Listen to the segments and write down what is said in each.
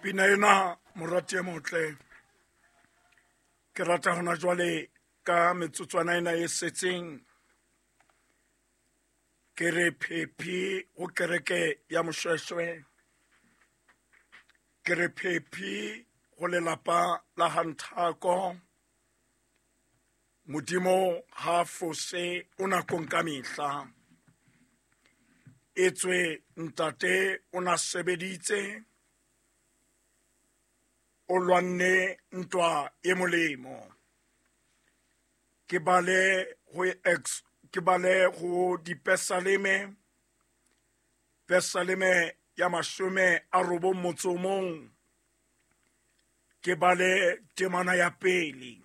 Pina ena, morati e motle, ke rata hona jwale ka metsotswana ena e setseng, ke re phephi go kereke ya Moshweshwe, ke re phephi go lelapa la Hanthako. Modimo ha fose, o nakong ka mehla. Etswe ntate o na sebeditse, o lwanne ntwa e molemo. Ke bale ho ex, ke bale ho dipesaleme, pesaleme ya 91, ke bale temana ya pele.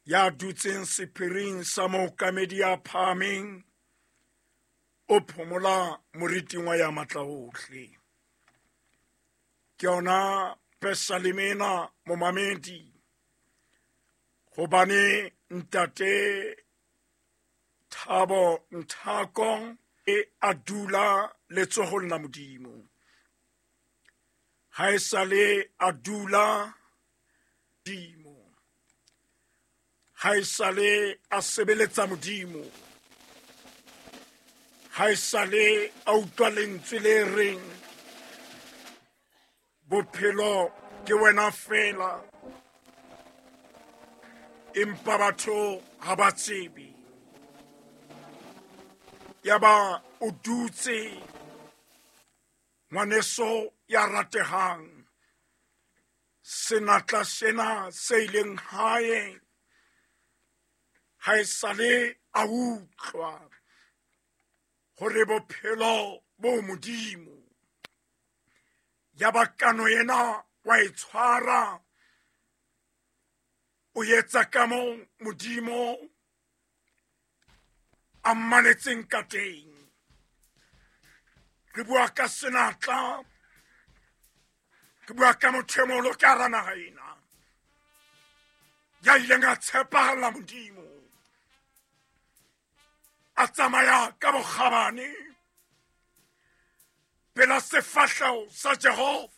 Ya dutseng sephiring sa mookamedi ya phahameng o phomola moriting wa ya matla ohle. Ke yona pesaleme ena, momamedi, hobane ntate Thabo Nthako e a dula letsohong la Modimo. Ha e sale a dula Modimo, ha e sale a sebeletsa Modimo, ha e sale a utlwa lentswe le reng bophelo ke wena fela, empa batho ha ba tsebe. Yaba o dutse, ngwaneso ya ratehang, senatla sena se ileng hae ha e sale a utlwa hore bophelo bo Modimo. Ya ba kano ena wa e tshwara, o etsa ka moo Modimo a mmaletseng ka teng. Re bua ka senatla, ke bua ka motho e moholo ka hara naha ena ya ileng a tshepahalla Modimo, a tsamaya ka bokgabane pela sefahleho sa Jehova.